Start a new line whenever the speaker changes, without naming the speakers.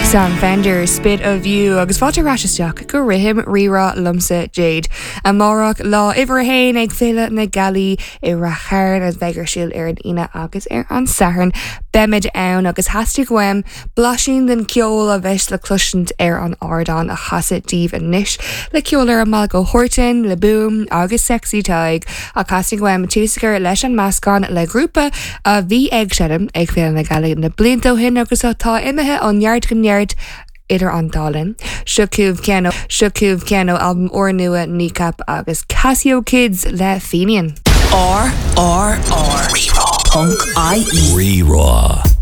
Sam Fender, Spit of You agus fáilte ar ais isteach go Rithim Rí-Rá liomsa Jade. Amárach lá uimhir a haon ag Féile na Gealaí i Rath Chairn a bheidh ar siúl ar an Aoine agus ar an Satharn. Beimid ann agus theastaigh uaim Blaisín den cheol a bheas le cloisint ar an ardán a chasadh daoibh anois, le ceol ar an mbealach ó Horton, le Boom agus Sexy Tadhg, ach theastaigh uaim tús a chur leis an meascán le grúpa a bhí ag seinm ag Féile na Gealaí na blianta ó shin agus atá imithe ó neart go neart idir an dá linn. Seo chugaibh ceann seo chugaibh ceann ó albam úrnua Kneecap agus Casio Kids le Fenian.
R R R Rí-Rá ponc IE.
Rí-Rá.